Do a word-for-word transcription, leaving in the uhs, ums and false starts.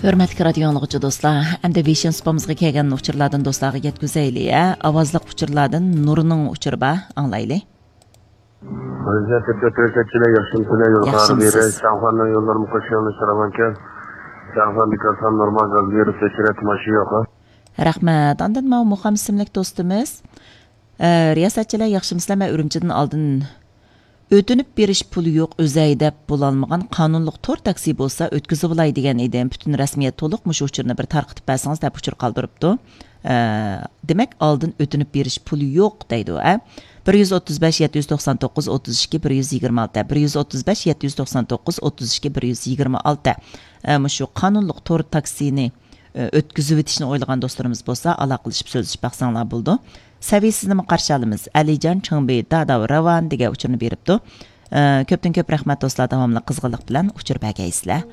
ھۆرمەتلىك رادىيو ئاڭلىغۇچى دوستلار، ئەمدى ۋېيشىن سۇپىمىزغا كەلگەن ئۇچۇرلاردىن دوستلارغا يەتكۈزەيلى، ھە؟ ئاۋازلىق ئۇچۇرلاردىن نۇرنىڭ ئۇچۇرى بار، ئاڭلايلى. رىياسەتچىلەر ياخشىمۇسىلەر؟ يولغا ياخشىمۇسىز؟ بېرىش، شاڭخەننىڭ يوللىرىمۇ خۇشياڭلىشىدىغانكەن. شاڭخەن بىكارسان نورمال گاز بېرىپ تەكشۈرەتتى، ماشىنا يوق. رەھمەت. ئاندىن ماۋۇ مۇخەممەت ئىسىملىك دوستىمىز، ئە، رىياسەتچىلەر ياخشىمۇسىلەر؟ مەن ئۈرۈمچىدىن ئالدىن ئۆتۈنۈپ بېرىش پۇلى يوق ئۆزەي دەپ بولالمىغان قانۇنلۇق تور تاكسى بولسا ئۆتكۈزۈۋالاي دېگەن ئىدىم. پۈتۈن رەسمىيەت تولۇق، مۇشۇ ئۇچۇرنى بىر تارقىتىپ بەرسىڭىز دەپ ئۇچۇر قالدۇرۇپتۇ. ئە، دېمەك، ئالدىن ئۆتۈنۈپ بېرىش پۇلى يوق دەيدۇ، ئە. بىر يۈز ئوتتۇز بەش، يەتتە يۈز توقسان توققۇز، ئوتتۇز ئىككى، بىر يۈز يىگىرمە ئالتە، بىر يۈز ئوتتۇز بەش، يەتتە يۈز توقسان توققۇز، ئوتتۇز ئىككى، بىر يۈز يىگىرمە ئالتە. ئە، مۇشۇ قانۇنلۇق تور تاكسىنى، ئە، ئۆتكۈزۈۋېتىشنى ئويلىغان دوستلىرىمىز بولسا، ئالاقىلىشىپ سۆزلىشىپ باقساڭلار بولىدۇ. سەۋىيىسىزنىمۇ قارشى ئالىمىز. ئەلىجان چىڭبى داداۋ راۋان دېگەن ئۇچۇرنى بېرىپتۇ. ئە، كۆپتىن كۆپ رەھمەت دوستلار، داۋاملىق قىزغىنلىق بىلەن ئۇچۇر بەرگەيسىلەر.